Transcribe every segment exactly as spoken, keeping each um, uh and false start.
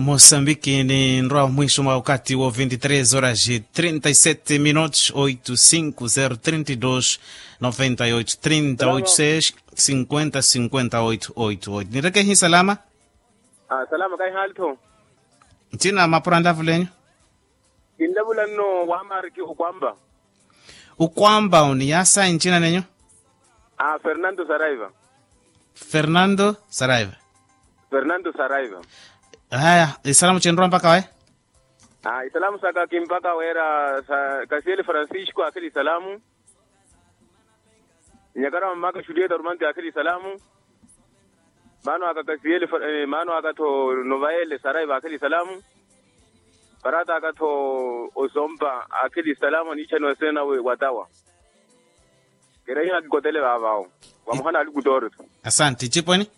Mosambiki ni nrwa mwiso mwa wakati wo vinti tres horas e trinta e sete minutos oito cinco zero trinta e dos noventa e oito trinta oito seis cinquenta cinquenta oito oito oito nireke hi salama. Salama kaihali tho. Ntina mapura nlavulenyu. Kinlavula nno wa mariki ukwamba. Ukwamba uni yasa nchina nenyu? Fernando saraiva. Fernando saraiva. Fernando saraiva. Haya isalamu chinrwa mpaka waye. Isalamu saka kimpaka wera sa kasiele francisco akhili isalamu. Nyakara mamaka julieta rumanti akhili isalamu. Maano aka kasiele maano aka tho novaele saraiva akhili isalamu. Parata aka tho osompa akhili isalamu aniichaniwa sena watawa. Kira iha kikotele vaavawo. Vamuhana ali kutoori. Asanti iciponi.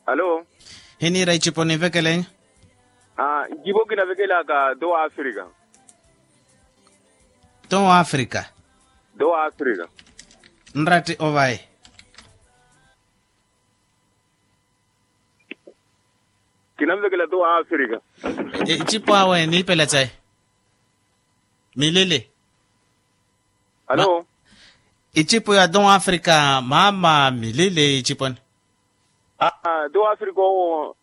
Alo. Hiniira iciponi nvekelenya. Ncipo kinavekelaka to africa. To africa. To africa. Nratti ovaye. Kinanvekela to africa. Icipo awe niipela cayi. Milili. Alo. Icipo ya to africa mama milili iciponi. To africa owo.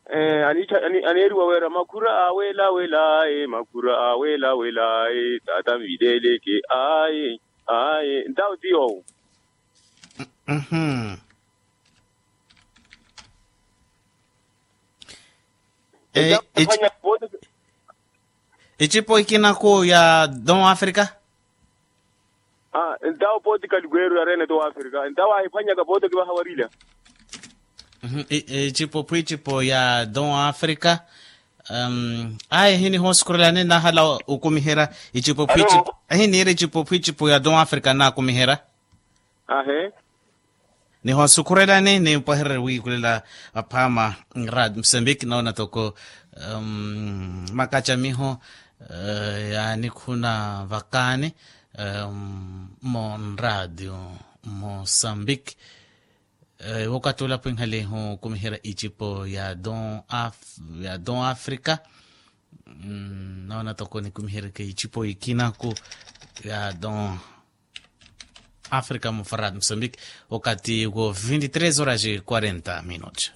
Aneeriwa wera makhura awelawela aye makhura awelawela aye tata nvileleke aye. Aye ntawo ti yowo. Icipo ikinaku ya don africa. Ntawo poti kalikweru yarene to africa ntawo ahiphwanyaka poti okivaha warila. Icipo phwicipo ya don africa. Ayi hinihosukhurelani nahala okumiherya. Icipo phwicipo hiniira icipo phwicipo ya don africa nakumiherya. Ahe. Nihosukhurelani nimpwehererye wiikulela. Aphaama nradi musembiki noona toko makacamiho yaanikhuna vakaani. Mo nradio mosambiki. Wokatula pwinhalihu kumiherya icipo ya don africa. Noona toko nikumiheryeke icipo ikinaku ya don africa mufarad musambiki. Wakati wo vinti tres horas e quarenta minutos.